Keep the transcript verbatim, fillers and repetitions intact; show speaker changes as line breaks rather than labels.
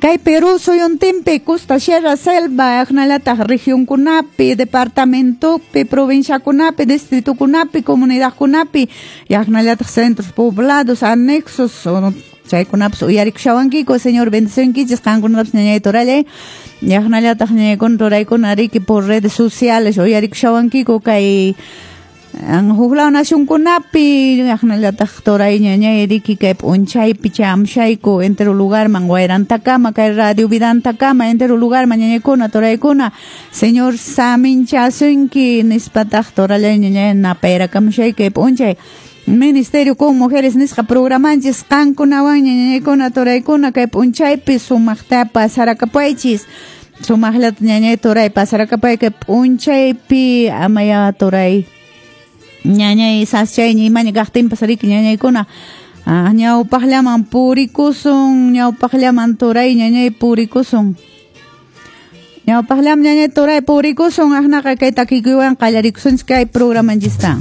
Kay Perú suyuntinpi, Costa, Sierra, Selva, aqnallataq regionkunapi, departamentopi, provinciakunapi, distritokunapi, comunidadkunapi, aqnallataq centros poblados, anexos, chaykunapas uyarikushawankiku. Señor bendicionkichis qankunatapas, ñañay torallay, aqnallataq ñañaykuna turaykuna riki por redes sociales uyarikushawankiku kay huklaw nacionkunapi, aqnallataq turay ñañay riki kay p'unchaypi chamshayku entero lugarman wayrantakama kay Radio Vidantakama entero lugarman ñañaykuna turaykuna. Señor saminchasunki nispataq torallay ñañay napayrakamshay kay p'unchay Ministerio con Mujeres nisqa programanchis qankunawan ñañaykuna turaykuna kay p'unchaypi sumaqta pasarakapaychis. Sumaqllata ñañay turay pasarakapay kay p'unchaypi amaya turay ñañay saschayña imaña kaqtinpas riki ñañaykuna ñawpaqllaman purikusun, ñawpaqllaman turay ñañay purikusun, ñawpaqllaman ñañay turay purikusun. Aqnaqa kay takikuywan qallarikusunchis kay programanchista.